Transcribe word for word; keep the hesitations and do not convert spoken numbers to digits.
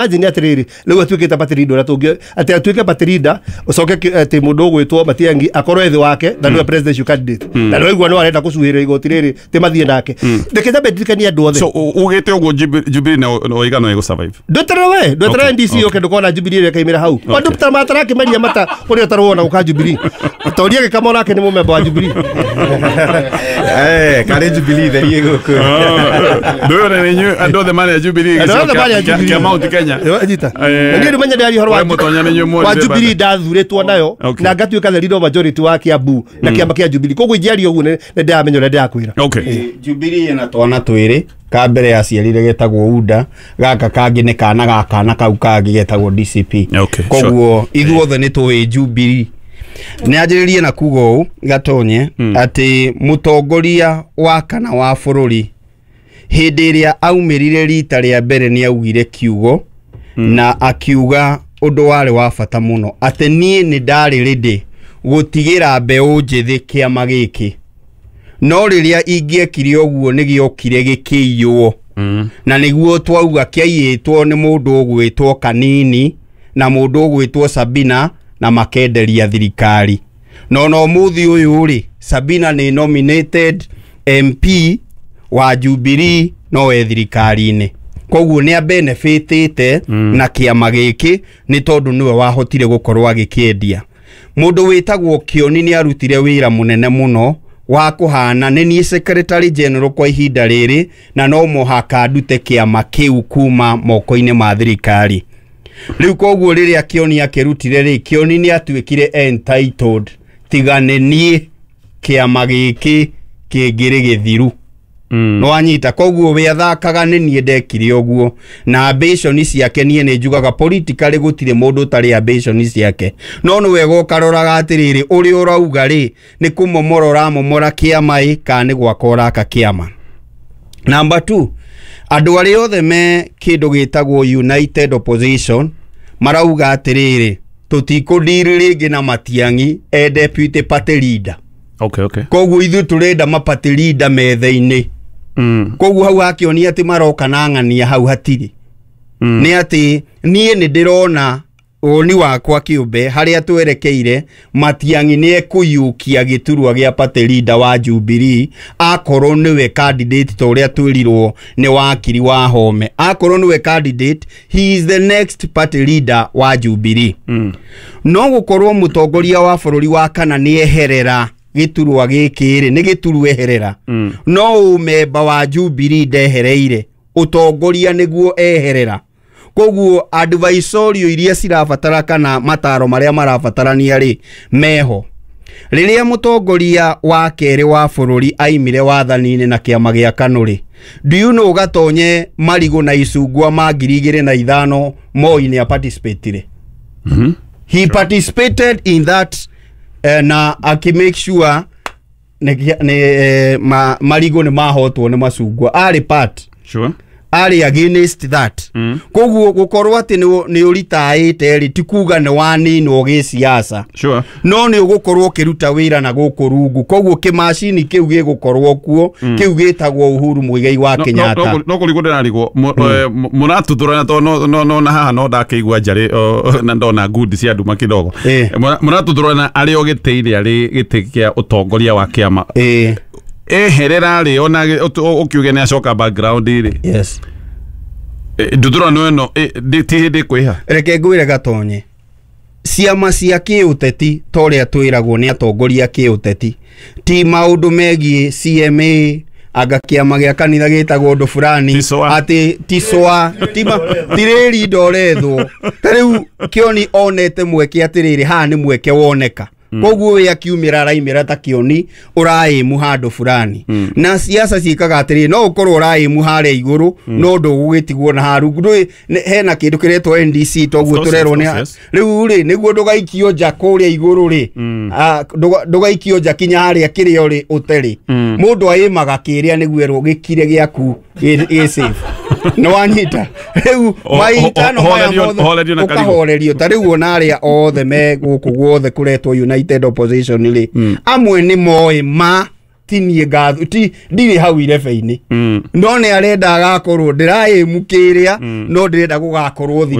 Imagine atiriri riu atuikite party leader uria tungi ati atuike party leader ucoke ati mundu ugwitwo Matiang'i akorwo ethi wake na niwe presidential candidate na niwe no arenda gucuhirira igoti riri ti mathie nake. Ndeke nyambe ndirikanie andu othe. So ugite uguo Jubilee na oiga no igusurvive. Ndweterere we, ndweterere N D C yoke ndukona Jubilee ĩrĩa ĩkaimĩra hau. Andu ta matarakĩmeria mata ũrĩa ũtarwona gũka Jubilee. Toria gĩkamo nake nĩ mũmemba wa Jubilee. Eh, karĩ Jubilee therie gũkũ. Ndũyũ nĩ inyuĩ andũ othe marĩ a Jubilee Andũ othe marĩ a gĩcigo Jubilee. kĩa Mount Kenya. Nyita. Eh, Niĩ ndũmenya ndĩraria ũhoro wa we mũtonya nĩ inyuĩ wa muonire Jubilee bata. ndathurĩtwo nayo Okay. na ngatuĩka the leader of majority wa Kiambu na kĩama kĩa Jubilee. Koguo ingĩaria ũguo nĩ nĩ ndĩramenya ũrĩa ndĩrakwĩra. Okay. Jubilee ĩna twana twĩrĩ, ka mbere aciarire getagwo U D A, gaka kangĩ nĩ kana ga kana kau kangĩ getagwo D C P. Okay, Koguo ithuothe nĩ tũĩ Jubilee. Nĩ anjĩrĩrie na kuga ũũ Gatonye, atĩ mũtongoria wa kana wa bũrũri hĩndĩ ĩrĩa aumĩrire rita rĩa mbere nĩ augire kiugo na akiuga ũndũ warĩ wa bata mũno, atĩ niĩ nĩ ndarĩ ready gũtigĩra mbeũ njĩthĩ kĩama gĩkĩ, no rĩrĩa ingĩekire ũguo nĩ gĩokire gĩkĩiywo na nĩguo twauga kĩaiyĩtwo nĩ mũndũ ũgwĩtwo Kanini na mũndũ ũgwĩtwo Sabina na makenderia thirikari. No no mũthĩ ũyũ rĩ, Sabina nĩ nominated M P wa Jubilee no e thirikari-inĩ, koguo nĩ abenefitĩte mm. na kĩama gĩkĩ nĩ tondũ nĩwe wahotire gũkorwo agĩkĩendia. Mũndũ wĩtagwo Kĩoni nĩ arutire wĩra mũnene mũno wa kũhana nĩ niĩ secretary general kwa ihinda rĩrĩ, na no mũhaka ndute kĩama kĩu kuma moko-inĩ ma thirikari rĩu. Koguo rĩrĩa Kĩoni akĩrutire rĩ, Kĩoni nĩ atuĩkire entitled, tiga nĩ niĩ kĩama gĩkĩ kĩngĩrĩ gĩthiru mm. Nĩwanyita? Koguo we athakaga nĩ niĩ ndekire ũguo na ambition ciake. Niĩ nĩ njugaga politically gũtirĩ mũndũ ũtarĩ ambition ciake, no nĩ wega ũkaroraga atĩrĩrĩ, ũrĩa ũrauga rĩ, nĩ kũmomora ũramomora kĩama ĩ kana nĩ gwaka ũraka kĩama. Number two, andũ arĩa othe me kĩndũ gĩtagwo United Opposition marauga atĩrĩrĩ, tũtikũndiri rĩngĩ na Matiang'i e deputy party leader. Okay okay Koguo ithuĩ tũrenda ma party leader metha-inĩ. mm. Koguo hau hakĩonia atĩ maroka na ng'ania hau hatirĩ Mm. nĩ atĩ niĩ nĩ ndĩrona woni wakwa kĩũmbe harĩa twerekeire, Matiang'i nĩ ekũiyũkia gĩturwa gĩa party leader wa Jubilee akorwo nĩwe candidate, ta ũrĩa twĩrirwo nĩ wakiri wa Home. Akorwo nĩwe candidate, he is the next party leader wa Jubilee. Mm. No gũkorwo mũtongoria wa bũrũri wa kana nĩ eherera gĩturwa gĩkĩ rĩ, nĩ gĩturwa eherera, Mm. no ũmemba wa Jubilee ndehereire, ũtongoria nĩguo eherera. Koguo advisorio iria cirabatara kana mataro marĩa marabatarania rĩ, meho. Rĩrĩa mũtongoria wa kerĩ wa bũrũri aimire wathani-inĩ na kĩama gĩa KANU rĩ, do you know Gatonye, marigũ na icungwa ma ngiri igĩrĩ na ithano Moi nĩ aparticipatire? Mm-hmm. He participated in that uh, na aki make sure nĩ, nĩ, eh, ma, marigũ nĩ mahotwo nĩ macungwa, arĩ part Sure. arĩ against that. Mm. Koguo gũkorwo atĩ nĩ nĩ ũritaĩte rĩ, ti kuga nĩ waninwo gĩsiasa. Sure. No nĩ ũgũkorwo ũkĩruta wĩra na gũkũ rungu, koguo kĩmacini kĩu gĩgũkorwo kuo, kĩu gĩtagwo Uhuru Muigai wa No- Kenyatta. no- no kũrigwo ndĩrarigwo mũratuthũrana tondũ no- no no na haha no ndakĩigua njarĩ o, na ndona ngundi cia nduma kidogo. Eh. Mũratuthũrana arĩ o gĩtĩ-inĩ, arĩ gĩtĩ kĩa ũtongoria wa kĩama, eh eherera rĩ, ona ũkiuge nĩ acoka background rĩ, yes nduthũrano ĩno eh, ndĩ- ti hĩndĩ ĩkwĩha? Reke ngwĩre Gatonye, ciama cia kĩũteti ta ũrĩa twĩragwo nĩ atongoria kĩũteti ti maũndũ megiĩ C M A, anga kĩama gĩa kanitha gĩtagwo ũndũ fulani. Ticoa. Atĩ ticoa ti rĩri ndorethwo. Ta rĩu Kĩoni onete mweke atĩrĩrĩ, haha nĩ mweke woneka, koguo we akiumĩra araimĩra ta Kĩoni ũraĩmu handũ fulani. Na siasa ciĩkaga atĩrĩrĩ, no ũkorwo ũraĩmu harĩa igũrũ no ndũgũgĩtigwo na haru ndũĩ nĩ- hena kĩndũ kĩretwo N D C toguo Of course, tũrerwo of nĩ course, yes. rĩu rĩ, nĩguo ndũgaikio nja kũrĩa igũrũ rĩ, ah, ndũga- ndũgaikio nja kinya harĩa kĩrĩa ũrĩ ũterĩ, mũndũ aĩmaga kĩrĩa nĩguo erwo gĩkire gĩaku gĩ gĩ safe. Nĩ wanyita? Rĩu O- mahitano o- maya horerio- mothe horerio na karigũ. ũkahorerio. Ta rĩu ona arĩa othe me gũkũ guothe kũretwo United Opposition rĩ, amwe nĩ moĩ ma Tinie ngathu ti ndirĩ hau irebe-inĩ, Mm. no nĩ arenda agakorwo ndĩraĩmu kĩrĩa, no ndĩrenda gũgakorwo.